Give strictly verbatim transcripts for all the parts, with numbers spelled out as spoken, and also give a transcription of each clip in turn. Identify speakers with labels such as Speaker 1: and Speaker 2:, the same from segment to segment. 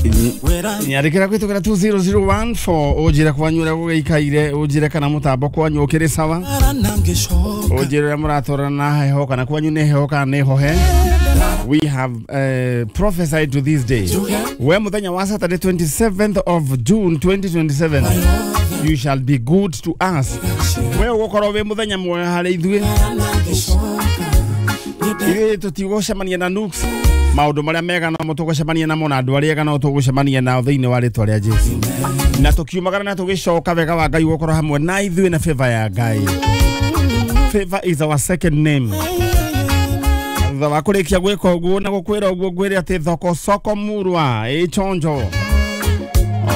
Speaker 1: Nyandĩkĩra kũhĩtũkĩra two zero zero one four, ũnjĩre kwanyu ũrĩa gũgĩikaire, ũnjĩre kana mũtambo kwanyu ũkĩrĩ sawa, ũnjĩre ũrĩa mũratwarana na heho, kana kwanyu nĩ heho kana nĩ hohe. We have uh, prophesied to this day, we muthenya wa Saturday, twenty-seventh of June twenty twenty-seven, you shall be good to us. We ũgũkorwo wĩ mũthenya mwega harĩ ithuĩ. Ithuĩ tũtigũcemania na nuks, maũndũ marĩa mega no tũgũcemania namo, na andũ arĩa ega no tũgũcemania nao thĩinĩ wa rĩtwa rĩa Jesu. Na tũkiumagara na tũgĩcoka, wega wa Ngai ũgũkorwo hamwe na ithuĩ na favor ya Ngai. Favor is our second name. Thutha wa kũrĩkia gwĩka ũguo na gũkwĩra ũguo, ngwĩre atĩ thoko soko murwa ĩ chonjo,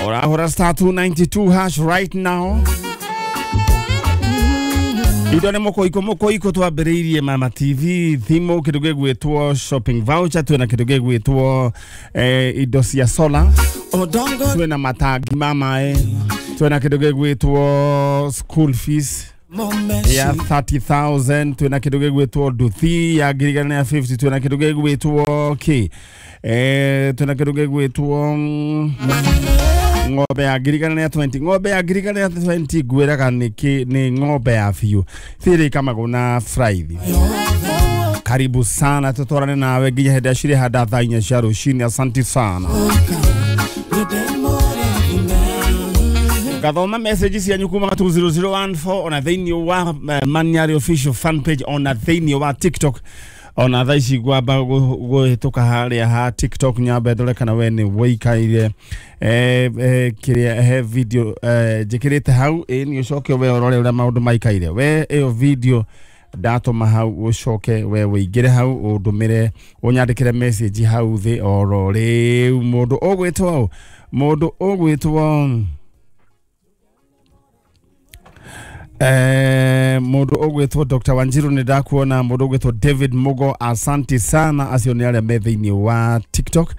Speaker 1: ũrahũra star two nine two hash right now. Indo nĩ mũkũikũ mũkũikũ. Twambĩrĩirie Mama T V, thimũ, kĩndũ gĩgwĩtwo shopping voucher, twĩna kĩndũ gĩgwĩtwo eh, indo cia solar, twĩna matangi ma maĩ, twĩna kĩndũ gĩgwĩtwo school fees ya thirty thousand, twĩna kĩndũ gĩgwĩtwo nduthi ya ngiri igana rĩa fifty, twĩna kĩndũ gĩgwĩtwo kĩ eh, twĩna kĩndũ gĩgwĩtwo mm, ng'ombe ya ngiri igana rĩa twenty. Ng'ombe ya ngiri igana rĩa twenty ngwĩraga nĩ kĩ? Nĩ ng'ombe ya biũ thĩrĩ ikamagwo na fraithi. Karibu sana, tutwarane nawe nginya hĩndĩ ya cirĩ handa thaa inya cia rũcinĩ. Asanti sana. Ngathoma message cianyu kuma two zero zero one four, ona thĩinĩ wa eh, Maniari official fan page, ona thĩinĩ wa TikTok. Ona thaa ici ngwamba gwĩtũka harĩa ha TikTok, nyambe ndore kana we nĩ wĩikaire eh, eh, kĩrĩa he video eh, njĩkĩrĩte hau. Ĩ nĩ ũcoke we ũrore ũrĩa maũndũ maikaire. We ĩyo video ndatũma hau, ũcoke we wĩingĩre hau, ũndũmĩre, ũnyandĩkĩre message hau thĩ oro rĩu. Mũndũ ũgwĩtwo mũndũ ũgwĩtwo Eh, mũndũ ũgwĩtwo Doctor Wanjiru, nĩ ndakuona. Mũndũ ũgwĩtwo David Mugo, asanti sana. Acio nĩ arĩa me thĩinĩ wa TikTok.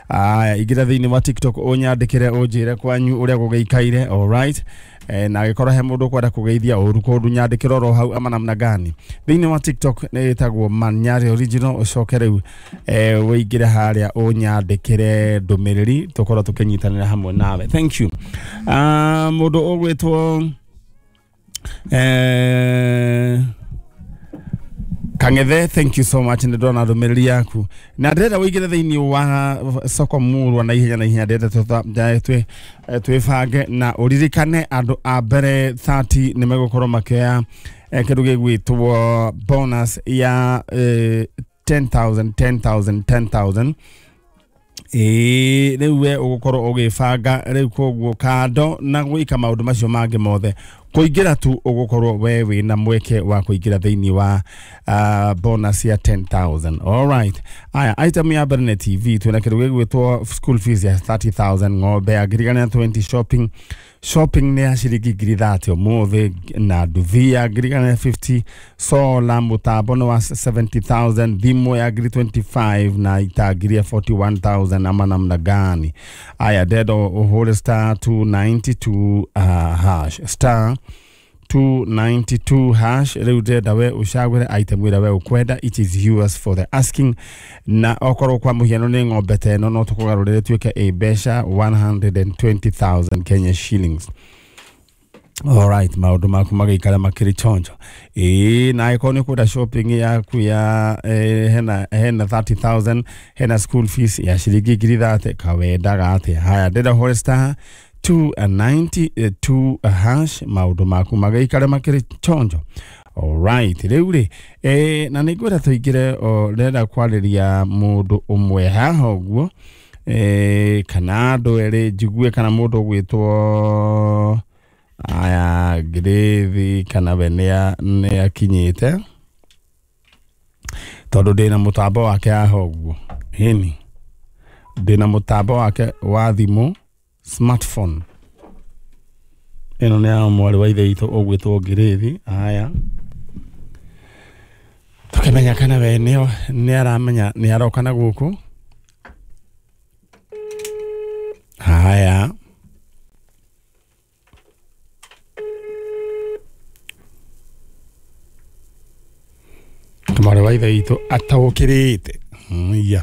Speaker 1: Aya, ingĩra thĩinĩ wa TikTok, ũnyandĩkĩre, ũnjĩre kwanyu ũrĩa gũgĩikaire. Alright, eh, na angĩkorwo he mũndũ ũkwenda kũgeithia ũru kũndũ, nyandĩkĩre oro hau ama namna gani. Thĩinĩ wa TikTok nĩ ĩtagwo Manyari Original. Ũcoke rĩu eh, ũingĩre harĩa ũnyandĩkĩre ndũmĩrĩri, tũkorwo tũkĩnyitanĩra hamwe nawe. Thank you. uh, mũndũ ũgwĩtwo eh, Kang'ethe, thank you so much. Nĩ ndona ndũmĩrĩri yaku na ndĩrenda ũingĩre thĩinĩ wa soko murwa na ihenya na ihenya. Ndĩrenda tũta- twĩ twĩbange na ũririkane andũ a mbere thirty nĩ megũkorwo makĩoya eh, kĩndũ gĩgwĩtwo bonus ya eh, ten thousand, ten thousand, ten thousand. Ĩĩ, rĩu we ũgũkorwo ũgĩbanga rĩu, koguo kando na gwĩka maũndũ macio mangĩ mothe, kũingĩra tu ũgũkorwo we wĩna mweke wa kũingĩra thĩinĩ wa uh, bonus ya ten thousand. Alright, aya, item ya mbere nĩ T V, twĩna kĩndũ gĩgwĩtwo school fees ya thirty thousand, ng'ombe ya ngiri igana rĩa twenty, shopping shopping nĩ ya ciringi ngiri thirty ũmũthĩ, na nduthi ya ngiri igana rĩa fifty, solar mũtambo nĩ wa seventy thousand, thimũ ya ngiri twenty-five na itangi rĩa forty-one thousand ama namna gani. Aya, ndenda ũhũre star two nine two uh, hash, star two nine two hash. Rĩu ndĩrenda we ũcagũre item ĩrĩa we ũkwenda. It is yours for the asking. Na okorwo kwa mũhiano nĩ ng'ombe ta ĩno, no tũkũgarũrĩre tuĩke ĩ mbeca one hundred twenty thousand Kenya shillings. Alright, maũndũ maku magĩikara makĩrĩ chonjo. Ĩĩ, na angĩkorwo nĩ ũkwenda shopping yaku ya eh, hena hena thirty thousand, hena school fees ya ciringi ngiri thirty, kawendaga atĩa? Haya, ndĩrenda ũhũre star two ninety-two hash, maũndũ maku magĩikare makĩrĩ chonjo. Alright, rĩu rĩ eh, na nĩ ngwenda tũingĩre o ndĩrenda kwarĩria mũndũ ũmwe haha ũguo eh, kana andũ erĩ, njigue kana mũndũ ũgwĩtwo aya Ngĩrĩthi kana we nĩ akinyĩte, tondũ ndĩna mũtambo wake haha ũguo. Ĩni, ndĩna mũtambo wake wa thimũ, smartphone ĩno nĩ ya mwarĩ wa ithe witũ ũgwĩtwo Ngĩrĩthi. Aya, tũkĩmenya kana we nĩ nĩ aramenya nĩ aroka na gũkũ. Haya, mwarĩ wa ithe witũ ataũkĩrĩte. Mm, iya.